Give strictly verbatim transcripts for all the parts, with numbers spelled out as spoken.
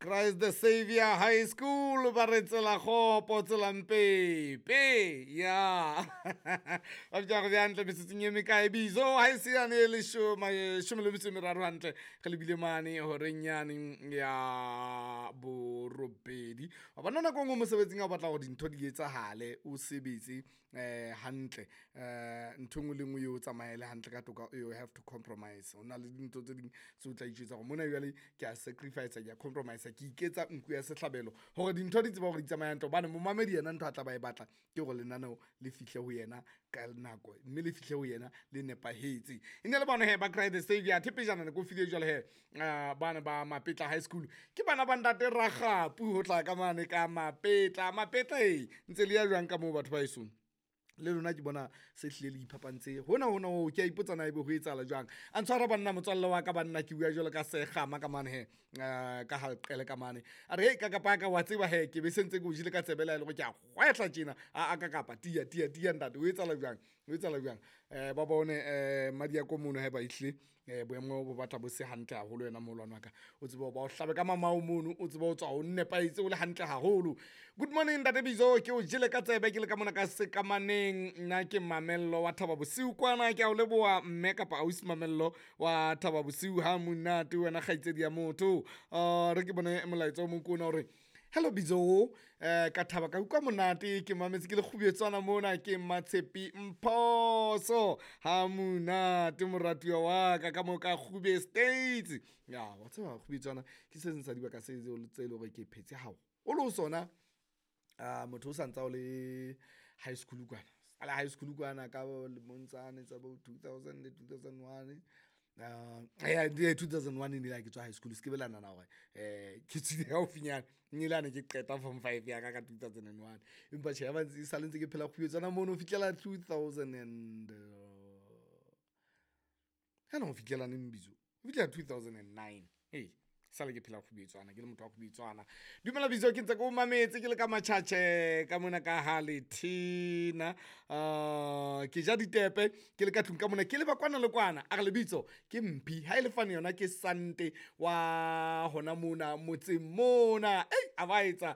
Christ the Savior High School ba re tsela kgopo tsela mpepe ya ba bitsa gore hantle metsotsong e mekae bizo ha e se yane e leshome le metso e meraro hantle re lebile mane horeng yane ya borobedi. Wa bona nako e nngwe mosebetsing ha o batla hore dintho di etsahale, o sebetse um hantle, um ntho e nngwe le nngwe eo tsamaele hantle ka toka, you have to compromise. Ho na le dintho tse ding tse o tla itjwetsa hore mona jwale ke a sacrifice, ke a compromise, ke iketsa nku ya sehlabelo hore dintho di tsebe hore di tsamaye hantle. Hobane momamedi yena ntho a tla ba e batla ke hore lenaneo le fihle ho yena ka nako, mme le fihle ho yena le nepahetse. E ne le bona he ba Christ the Savior. Athe pejana ne ke o file jwale he bana ba Mapetla High School, ke bana ba ntate Rakgapu ho tla ka mane ka Mapetla. Mapetla e ntse le ya jwang ka moo batho ba hesong? Le lona ke bona se hlile le iphapantse hona hona ho ke a ipotsa na ebe ho etsahala jwang. A ntshwara banna motswalle wa ka banna, ke bua jwalo ka sekgama ka mane he, ka ha ka mane. A re hei ka kapa ka wa tseba he, ke be se ntse ke o jele ka tsebe le ha e le hore ke a kgwehla tjena. A ka kapa tiya tiya tiya ntate, ho etsahala jwang, ho etsahala jwang? Um ba bone um Mmadiako mono haeba ehlile um boemo bo batla bo se hantle haholo. Wena moholwane wa ka, o tsebe ho ba o hlabe ka mamao mono, o tsebe ho tswa o nepahetse o le hantle haholo. Good morning ntate Bizo, ke o jele ka tsebe ke le ka mona ka sekamaneng. Nna ke Mamello wa Thaba Bosiu kwana, ke a o leboha mme kapa ausi Mamello wa Thaba Bosiu. Ha monate wena kgaitsedi ya motho. Uh, re ke bone molaetsa o mong ke ona hore hello Bizo, eh ka thaba ka utlwa monate, ke mametse ke le kgubetswana mona, ke Matshepi Mphoso. Ha monate moratuwa wa ka ka mo ka Kgube States. Ya wa tseba kgubetswana ke se seng sa dibaka se tse le hore ke phetse haholo ho sona. Uh, motho o santsa o le high school kwana, a le high school kwana ka lemong tsane tsa bo two thousand two thousand one. Uh, yeah, two thousand one e ne ke tswa high school, se ke be la nahana hore eh ke tswile haufinyana, nnile ane ke qeta form five ya ka ka two thousand and one. Empa tjhe, ya ba ntse sale ntse ke phela kgubetswana mono ho fihlela two thousand and hana ho fihlela neng Bizo, ho fihlela two thousand and nine. Hey, sale ke phela kgubetswana, ke le motho wa kgubetswana. Dumela Bizo, ke ntse ke o mametse ke le ka Matjhatjhe ka mona ka ha Lethina. Uh, ke ja ditepe ke le ka tlung ka mona, ke leba kwana le kwana. A re lebitso ke Mphi, ha e le fane yona ke Sante wa hona mona motseng mona. Ei, a ba etsa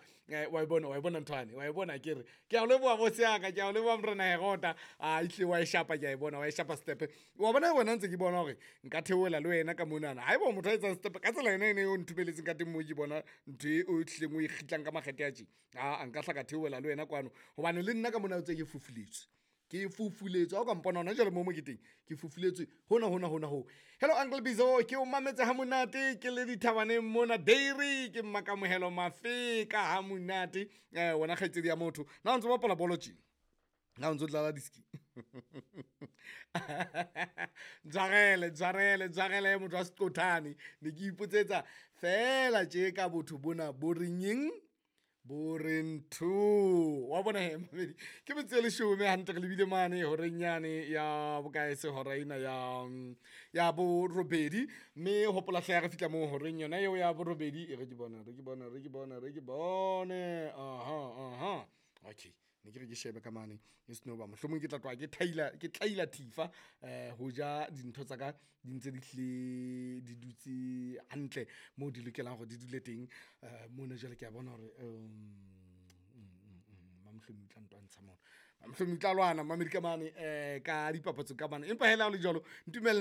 wa e bona, wa e bona nthwane, wa e bona ke re ke a o leboha boss ya ka, ke a o leboha morena Herota. A ihle wa e shapa, ke a e bona wa e shapa stepe. Wa bona wena ntse ke bona hore nka theohela le wena ka monana. Haeba motho a etsang stepe ka tsela yona ene o nthubeletseng ka teng moo, ke bona ntho e o tlileng o e kgitlang ka makgethe a tje. A nka hla ka theohela le wena kwano, hobane le nna ka mona o tse ke fufuletswe, ke fufuletswe. Ha o ka mpona hona jwale mo mo ke teng, ke fufuletswe hona hona hona ho. Hello Uncle Bizo, ke o mametse ha monate ke le dithabaneng mona dairy, ke Mmakamohelo Mafeka. Ha monate eh wena kgaitsedi ya motho, na o ntso bapala bolo tje? Na o ntso dlala diski? Ntshwarele, ntshwarele, ntshwarele motho wa seqothane. Ne ke ipotsetsa fela tje ka botho bona bo reng eng, bo reng two. Wa bona he mamedi, ke metso e leshome hantle re lebile mane horeng yane ya bokae se hora ena ya ya borobedi. Mme hopola hle ha re fihla moo horeng yona eo ya borobedi, e re ke bone, re ke bone, re ke bone, re ke bone. Aha, aha, okay. Ne ke re ke shebe ka mane e seno ba mohlomong ke tla tloha ke thaila, ke tlaila thifa eh ho ja dintho tsa ka di ntse di hlile di dutse hantle moo di lokelang hore di dule teng. Eh mona jwale ke a bona hore Mamhlomi tla ntwantsha mona, Mamhlomi tla lwana mamedi ka mane eh ka dipapatso ka mane. Empa hela ho le jwalo ntumelle.